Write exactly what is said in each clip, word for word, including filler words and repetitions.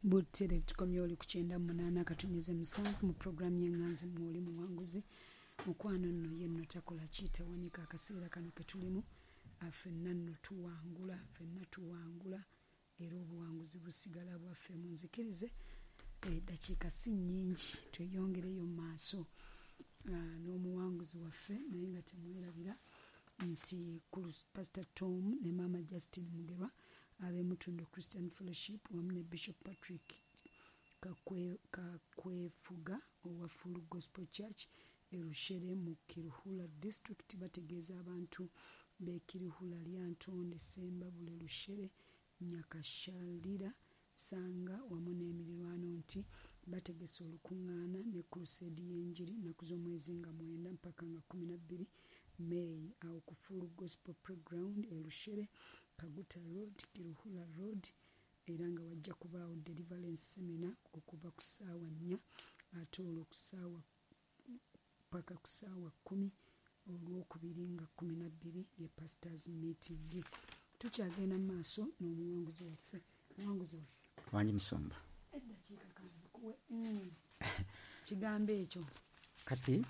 Butere tukomye oli ku kyenda munaana akatonyeze musanvu mu puroguramu y'Eŋŋanzi mwoli muwanguzi. Mukwano nno ye nno takola kiitawanika akaseera kano ke tulimu, ffenna nno tuwangula, ffenna tuwangula, era obuwanguzi busigala bwaffe. Munzikirize eddakiika si nnyingi tweyongereyo mu maaso n'omuwanguzi waffe, naye nga temwerabira nti Pastor Tom ne Maama Justin Mugerwa ab'Emutundu Christian Fellowship wamu ne Bishop Patrick Kakwefuga owa Full Gospel Church e Rushere mu Kiruhura District bategeeza abantu b'e Kiruhura, Lyantonde, Ssembabule, Rushere, Nyakashalira, Sanga wamu n'emirirwano nti bategese olukuŋŋaana ne crusade y'enjiri nnaku z'omwezi nga mwenda mpaka nga kkumi na bbiri May awo ku Full Gospel Playground e Rushere, Kaguta Road, Kiruhura Road, era nga wajja kubaawo deliverance seminar okuva ku ssaawa nnya ate olwo ku ssaawa paka ku ssaawa kkumi olwokubiri nga kkumi na bbiri ye pastors meeting. Tukyagenda mu maaso n'omuwanguzi waffe. Muwanguzi waffe wangi musumba, eddakiika kanzikuwe mm. kigambo ekyo. Kati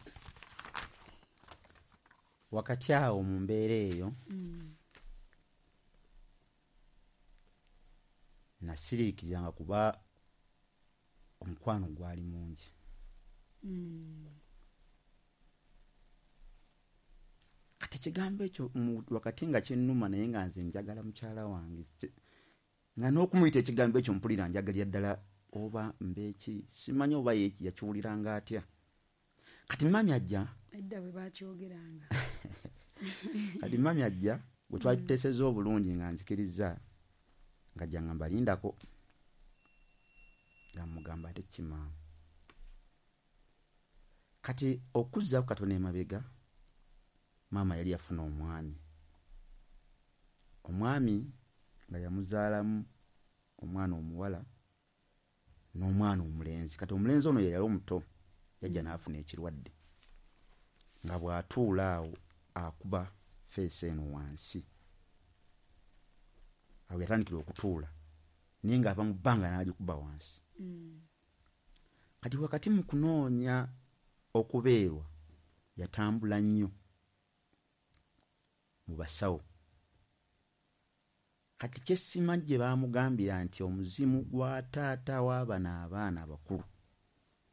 wakati awo mu mbeera eyo mm. nasiriikiriranga kuba omukwano gwali mungi. Mm. Kati ekigambo ekyo wakati nga kyennuma, naye nga nze njagala mukyala wange, nga n'okumuyita ekigambo ekyo mpulira njagalira ddala oba mbeeki, simanyi oba ye yakiwuliranga atya. Kati mami ajja edda bwe bakyogeranga. Kati mami ajja bwe twali tuteesezza obulungi nga nzikirizza, nga jja nga mbalindako, nga mugamba ate kimaama. Kati okuzzaako katono emabega, maama yali yafuna omwami, omwami nga yamuzaalamu omwana omuwala n'omwana omulenzi. Kati omulenzi ono ye yali omuto, yajja n'afuna ekirwadde nga bw'atuula awo akuba feesi eno wansi. Awo yatandikira okutuula naye ng'ava mu bbanga n'agikuba wansi. Mm. Kati wakati mu kunoonya okubeerwa yatambula nnyo mu basawo. Kati kyesimanyi gye baamugambira nti omuzimu gwa taata w'abano abaana abakulu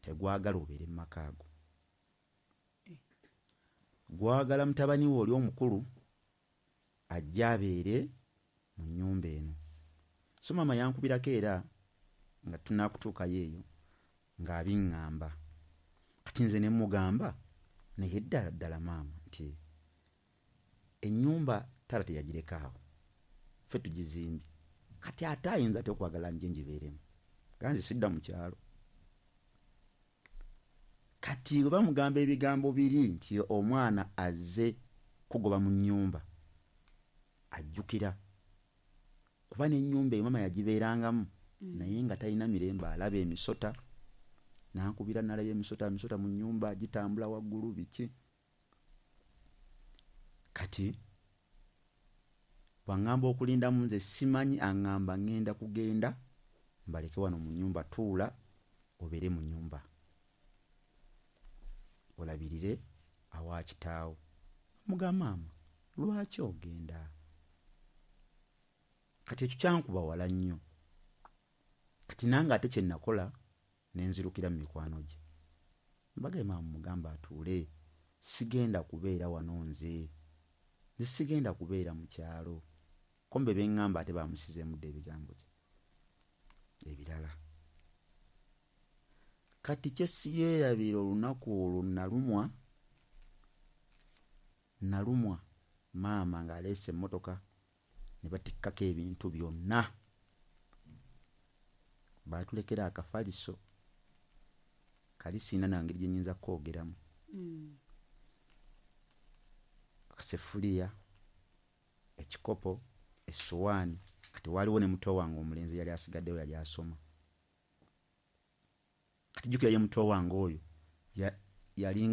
tegwagala obeere mu maka ago, gwagala mutabani we oli omukulu ajja abeere mu nnyumba eno. So maama yankubirako era nga tunaakutuukayo eyo ng'abiŋŋamba. Kati nze ne mmugamba naye ddala ddala maama nti ennyumba taata teyagireka awo, ffe tugizimbye, kati ate ayinza ate okwagala nje ngibeeremu, ganze sidda mu kyalo. Kati bwe bamugamba ebigambo biri nti omwana azze kugoba mu nnyumba, ajjukira kuba n'ennyumba eyo maama yagibeerangamu Mm. naye nga talina mirembe, alaba emisota, nankubira nalaba emisota, emisota mu nnyumba gitambula waggulu biki. Kati bw'aŋŋamba okulindamu nze simanyi, aŋŋamba ŋŋenda kugenda mbaleke wano mu nnyumba, tuula obeere mu nnyumba olabirire awa kitaawo. Mugamba maama lwaki ogenda? Kati ekyo kyankuba wala nnyo. Kati nange ate kye nakola ne nzirukira mu mikwano gye, mbagaye maama mugamba atuule, sigenda kubeera wano nze, nze sigenda kubeera mu kyalo. Kombe beŋŋamba ate bamusizeemu dda ebigambo kye ebirala. Kati kye siyeerabira olunaku olwo nalumwa, nalumwa maama ng'aleese emmotoka ne batikkako ebintu byonna, baatulekera akafaliso kali sirina na ngeri gye nnyinza kukoogeramu, Mm. akasefuliya, ekikopo, essowaani. Kati waaliwo ne muto wange omulenzi yali asigaddewo, yali asoma. Kati jjukira ye muto wange oyo yalinga